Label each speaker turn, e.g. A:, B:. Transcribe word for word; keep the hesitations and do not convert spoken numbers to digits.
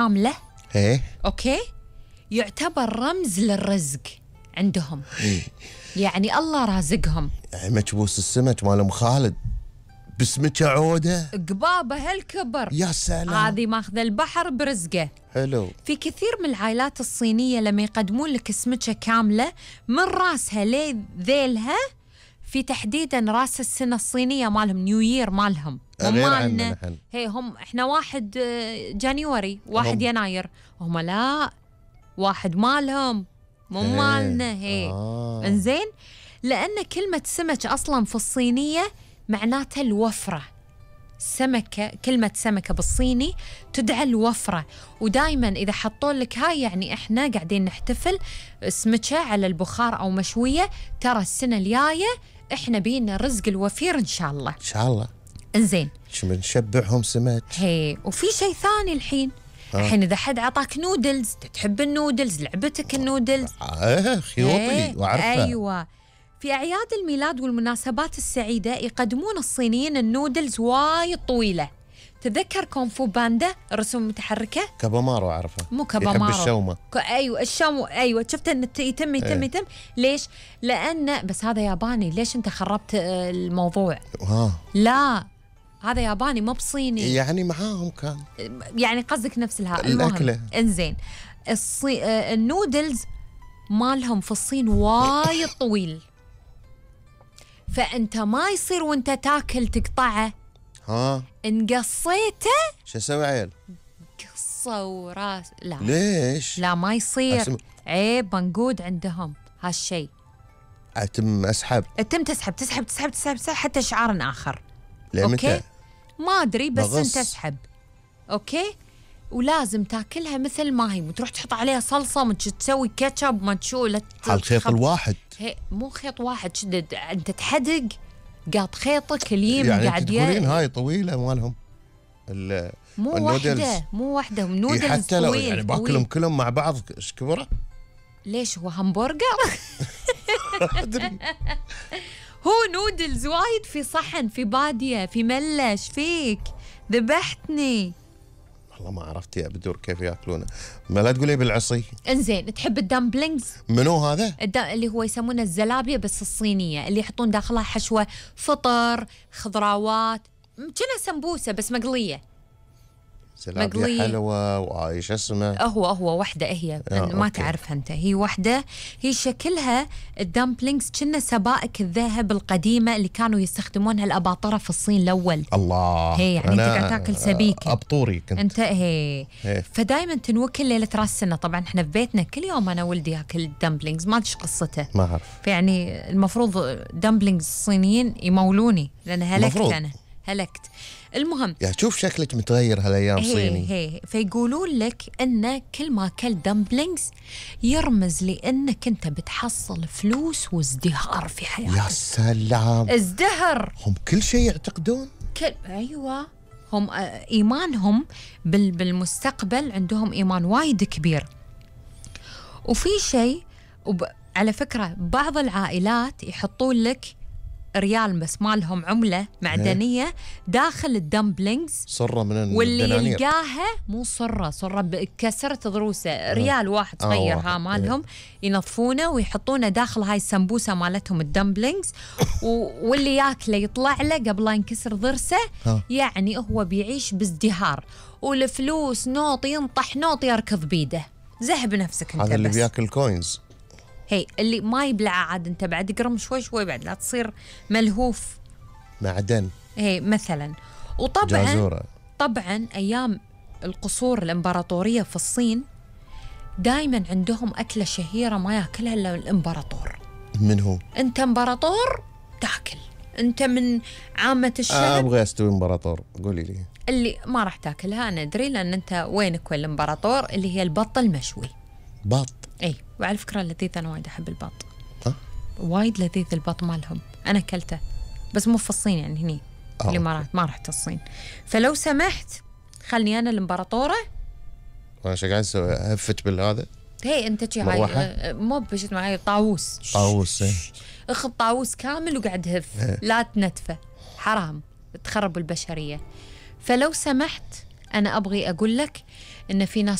A: كاملة
B: ايه
A: اوكي يعتبر رمز للرزق عندهم. يعني الله رازقهم.
B: يعني مكبوس السمك مال ام خالد بسمكة عودة
A: قبابة هالكبر.
B: يا سلام.
A: هذه ماخذ البحر برزقه.
B: حلو.
A: في كثير من العائلات الصينية لما يقدمون لك سمكة كاملة من راسها لذيلها، في تحديدا راس السنة الصينية مالهم، نيو يير مالهم، مو
B: غير
A: مالنا.
B: عننا نحن.
A: هي هم احنا واحد آه، جانيوري، واحد
B: هم.
A: يناير، هم لا، واحد مالهم مو
B: هي.
A: مالنا. هي
B: آه.
A: انزين، لأن كلمة سمك أصلا في الصينية معناتها الوفرة. سمكة، كلمة سمكة بالصيني تدعى الوفرة. ودايما إذا حطوا لك هاي يعني إحنا قاعدين نحتفل سمكة على البخار أو مشوية، ترى السنة الجاية إحنا بينا الرزق الوفير إن شاء الله.
B: ان شاء الله.
A: إنزين،
B: شو بنشبعهم سمك.
A: هي وفي شيء ثاني الحين.
B: آه.
A: الحين إذا حد عطاك نودلز، تحب النودلز، لعبتك النودلز.
B: اه خيوطي
A: إيه،
B: واعرفها.
A: أيوة. في أعياد الميلاد والمناسبات السعيدة يقدمون الصينيين النودلز وايد طويلة. تذكر كونفو باندا الرسوم المتحركة؟
B: كابامارو اعرفها.
A: مو كابامارو،
B: يحب الشومة.
A: ك... أيوة الشومة. أيوة شفت أن يتم يتم
B: إيه.
A: يتم. ليش؟ لأن بس هذا ياباني. ليش أنت خربت آه، الموضوع؟
B: ها.
A: لا هذا ياباني مو بصيني.
B: يعني معاهم كان.
A: يعني قصدك نفس الها.
B: الأكلة.
A: المهم انزين، الصي... آه، النودلز مالهم في الصين وايد طويل، فأنت ما يصير وانت تاكل تقطعه.
B: ها.
A: إن قصيته
B: شو اسوي عيل؟
A: قصة وراس. لا
B: ليش؟
A: لا ما يصير.
B: أسم...
A: عيب منقود عندهم هالشيء.
B: اتم اسحب.
A: تم تسحب تسحب تسحب تسحب, تسحب حتى شعار آخر.
B: لمتى؟
A: أوكي ما أدري بس
B: بغص.
A: أنت تسحب. أوكي. ولازم تاكلها مثل ما هي، وتروح تحط عليها صلصة، ما تسوي كاتشب، ما تشو لا
B: على الخيط الواحد.
A: هي مو خيط واحد، شدد انت تحدق قاط خيطك اليم
B: يعني
A: قاعد
B: تقولين هاي طويلة مالهم ال
A: مو
B: النودلز.
A: واحدة مو واحدة
B: إيه
A: نودلز
B: حتى لو
A: طويل
B: يعني
A: طويل.
B: باكلهم كلهم مع بعض ايش كبره؟
A: ليش هو همبرجر؟
B: أدري.
A: هو نودلز وايد في صحن، في بادية، في ملش فيك ذبحتني.
B: والله ما عرفت يا بدور كيف ياكلونه. ما لا تقولي بالعصي.
A: انزين، تحب الدمبلينجز؟
B: منو هذا؟
A: الدم... اللي هو يسمونه الزلابية بس الصينية، اللي يحطون داخلها حشوة فطر، خضراوات، كأنها سمبوسة بس مقلية.
B: زلابية
A: مقلية.
B: حلوة وايش اسمه؟
A: هو هو وحدة هي
B: آه،
A: ما
B: أوكي.
A: تعرفها أنت. هي وحدة، هي شكلها الدمبلينجز كنا سبائك الذهب القديمة اللي كانوا يستخدمونها الأباطرة في الصين الأول.
B: الله.
A: هي يعني أنت قاعد تاكل سبيكة.
B: أبطوري كنت.
A: أنت هي.
B: هي.
A: فدايما تنوكل ليلة راس السنة. طبعا احنا في بيتنا كل يوم أنا ولدي ياكل الدمبلينجز، ما أدري قصته.
B: ما أعرف.
A: فيعني المفروض دمبلينجز الصينيين يمولوني لأن هلكت
B: المفروض.
A: أنا هلكت. المهم
B: يا شوف شكلك متغير هالايام
A: هي
B: صيني.
A: هي فيقولون لك ان كل ما اكلت دمبلينجز يرمز لانك انت بتحصل فلوس وازدهار في حياتك.
B: يا سلام.
A: ازدهر.
B: هم كل شيء يعتقدون.
A: كل ايوه هم آه، ايمانهم بال... بالمستقبل عندهم ايمان وايد كبير. وفي شيء وب... على فكره بعض العائلات يحطون لك ريال بس مالهم عملة معدنية داخل الدمبلينجز،
B: صرة من
A: واللي
B: الدنانير.
A: يلقاها مو صرة صرة بكسرت ضروسه ريال واحد
B: آه،
A: صغير
B: واحد.
A: ها مالهم ينظفونه ويحطونه داخل هاي السمبوسة مالتهم الدمبلينجز و- واللي ياكله يطلع له قبل لا ينكسر ضرسه.
B: ها.
A: يعني هو بيعيش بازدهار والفلوس نوط ينطح نوط يركض بيده. زهب نفسك انت.
B: هذا اللي
A: بس
B: بياكل كوينز.
A: هي اللي ما يبلع عاد انت بعد قرم شوي شوي بعد لا تصير ملهوف.
B: معدن.
A: هي مثلا. وطبعا
B: جازورة.
A: طبعا ايام القصور الامبراطوريه في الصين دائما عندهم اكله شهيره ما ياكلها الا الامبراطور.
B: من هو؟
A: انت امبراطور تاكل، انت من عامه
B: آه
A: الشعب
B: ابغى استوي امبراطور. قولي لي.
A: اللي ما راح تاكلها انا ادري لان انت وينك وين الامبراطور، اللي هي البط المشوي.
B: بط.
A: اي وعلى فكره لذيذ، انا وايد احب البط.
B: ها؟
A: وايد لذيذ البط مالهم، انا اكلته بس مو في الصين يعني هني
B: آه،
A: الامارات ما رحت الصين. فلو سمحت خلني انا الامبراطوره.
B: انا ايش قاعد اسوي؟ هفت بالهذا.
A: هي انت شي
B: مروحة؟
A: هاي مو بشت معي طاووس.
B: طاووس. إيه.
A: اخذ طاووس كامل وقعد هف. لا تنتفه حرام تخرب البشريه. فلو سمحت أنا أبغي أقول لك إن في ناس